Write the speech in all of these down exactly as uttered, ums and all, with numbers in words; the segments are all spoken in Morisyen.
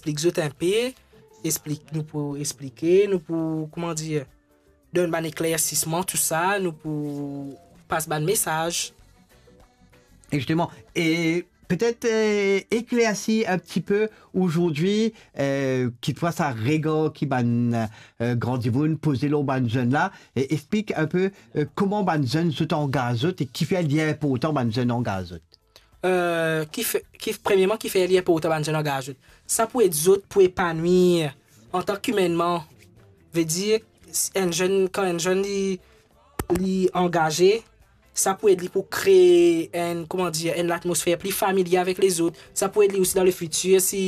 explik zot inpe, explik, nou pou explike, nou pou, kouma dir, donn bann eklersisman, tou sa, nou pou pas bann mesaz. Justement, et peut-être, euh, éclaircir un petit peu aujourd'hui, euh, kitfwa sa regar ki bann, euh, gran dimoun poze lor bann zenn la, e explik inpe, euh, kouma bann zenn zot angaz zot e kifer li inportan bann zenn angaz zot. Euh, ki fe, ki, premierman, kifer li inportan bann zenn angaz zot? Sa pou ed zot pou epanwir antan ki imennman. Vedir, enn zenn, kan enn zenn li, li angaze, sa pou ed li pou kree enn, kouma dir, enn latmosfer pli familie avek lezot. Sa pou ed li osi dan lefitir, si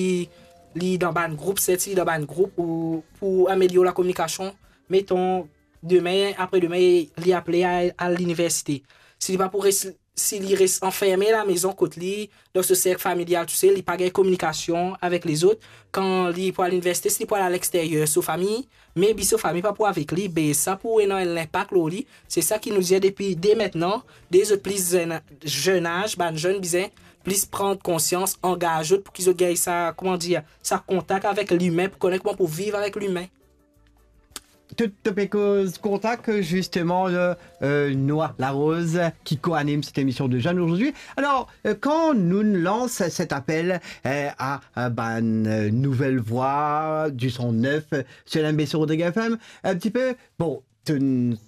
li dan bann group, sirtou si li dan bann group, ou pou amelior lakominikasion. Meton, demin, apre demin, li aple al, al liniversite. Si li pa pou res, si li res anferme lamezon kot li, dan so serk familial tousel, li pa gagn kominikasion avek lezot, kan li pou al liniversite, si li pou al alexteryer so fami, maybe so fami pa pou avek li, be sa pou ena enn linpak lor li. Se sa ki nou dir depi de mintnan, de zot pli zenn, zenn az, bann zenn bizin plis pran konsians, angaz zot pou ki zot gagn sa, kouma dir, sa kontak avek limin, pou kone kouma pou viv avek limin. Tou, to pe koz kontak, justement, euh, euh, Noah Larose, ki koanim cette émission de jeunes aujourd'hui. Alors, euh, quand nous lançons cet appel, euh, à, à, ben, euh, nouvelle voix, du son neuf, euh, sur l'M B C Rodrigue F M, un petit peu, bon, tu,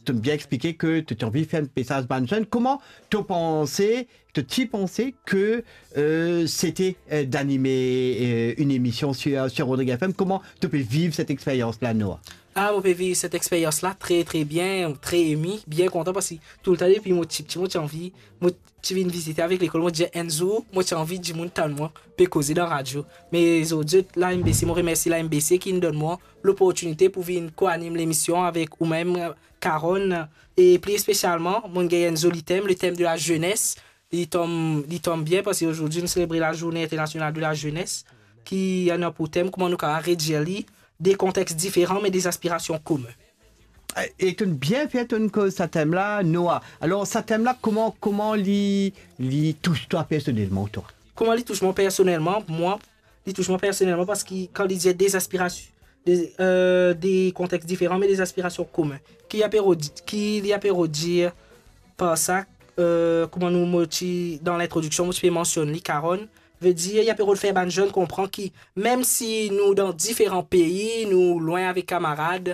tu as bien expliqué que tu as envie de faire un message à bann zenn. Kouma to panse, to ti panse ke, euh, c'était, euh, d'animer, euh, une émission sur, sur Rodrigue F M. Kouma to pe viv cette expérience-là, Noah? Ah, mo pe viv set experyans la tre, tre bien, tre emi, bien kontan, parski toultan depi mo tipti, mo ti anvi, mo ti vinn vizite avek lekol, mo dir enn zour, mo ti anvi dimoun tann mwa, pe koze dan radio. Me zordi, la M B C, mo remersie la M B C ki inn donn mwa loportinite pou vinn koanim lemision avek ou mem, Karonn, e pli espesialman, mo gagn enn zoli tem, le thème de la jeunesse. Li tom, li tom bien parski zordi nou selebre la Journée Internationale de la Jeunesse, ki ena pou tem kouma nou kapav redir li, des contextes différents mais des aspirations communes. E to'nn bien fer to'nn koz sa tem la, Noah. Alor, sa tem la, kouma, kouma li, li tous twa personelman, twa? Kouma li tous mwa personelman? Mwa, li tous mwa personelman parski kan li dir des aspirations, des, euh, des contextes différents mais des aspirations communes. Ki li ape rod-, ki li ape rod dir par sa, euh, kouma nou, mo ti, dan lintrodiksion, mo ti pe mansionn li, Karonn, vedir, li ape rod fer bann zenn konpran ki, mem si nou dan diferan pei, nou lwin avek kamarad,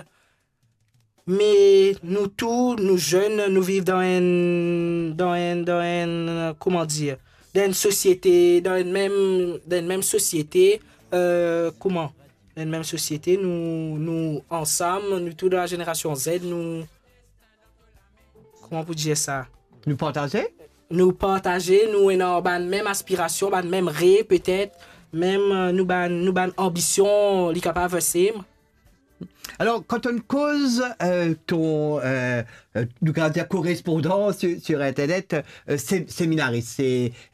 me nou tou, nou zenn, nou viv dan enn, dan enn, dan enn, kouma dir, dan enn sosiete, dan enn mem, dan enn mem sosiete, euh, kouma? Dan enn mem sosiete, nou, nou ansam, nou tou dan la zenerasion Z, nou, kouma pou dir sa? Nou partaze? Nou partaze, nou ena bann mem aspirasion, bann mem rev petet, mem, euh, nou bann, nou bann anbision, li kapav same. Alor, kan to'nn koz, euh, to, euh, euh, nou kapav dir korespondan sur, sur internet, euh, sé-, seminaris, se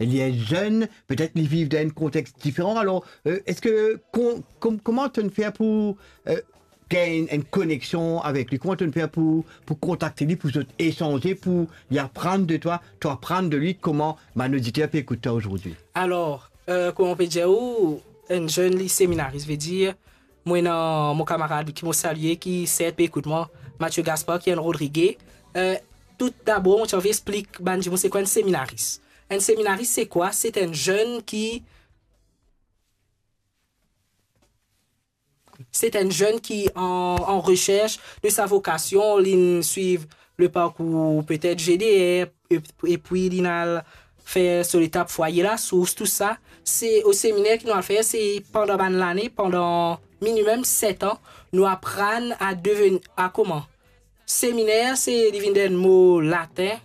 li enn zenn, petet li viv dan enn kontex diferan. Alor, euh, eski, kon-, kom-, kouma to'nn fer pou, euh, gagn enn, enn koneksion avek li? Kouma to'nn fer pou, pou kontakte li, pou zot esanze, pou li aprann de twa, twa aprann de li, kouma bann oditer pe ekout twa zordi? Alor, euh, kouma mo pe dir ou, enn zenn li seminaris, vedir, mo ena mo kamarad ki mo salie, ki sertin pe ekout mwa, Mathieu Gaspard, ki enn Rodrige. Euh, tou dabor, mo ti anvi explik bann dimoun se kwa enn seminaris. Enn seminaris, se kwa? Se enn zenn ki Se enn zenn ki an, an resers de sa vokasion, li'nn swiv le parkour petet G D R, e, epi li'nn al fer so letap Fwaye Lasours, tou sa. Se o seminer ki nou al fer, se pandan bann lane, pandan minimem set an, nou aprann a deveni, a kouma? Seminer, se, li vinn dan enn mo latin,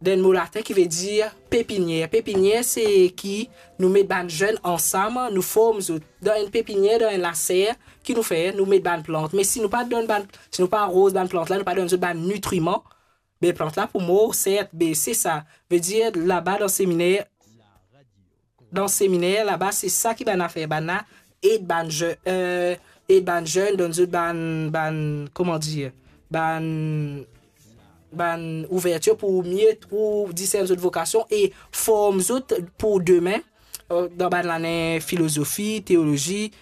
dan enn mo latin ki vedir pepinier. Pepinier, se ki nou met bann zenn ansam, nou form zot. Dan enn pepinier, dan enn laser, ki nou fer? Nou met bann plant. Me si nou pa donn bann, si nou pa aroz bann plant la, nou pa donn zot bann nitriman, be plant la pou mor, sert, be se sa. Vedir, laba dan seminer, dan seminer laba, se sa ki bann afer, bann la ed bann ze-, euh, ed bann zenn, donn zot bann, bann, kouma dir, bann, bann ouvertir pou mie, pou disern zot vokasion e form zot pou demin, euh, dan bann lane filozofi, teolozi,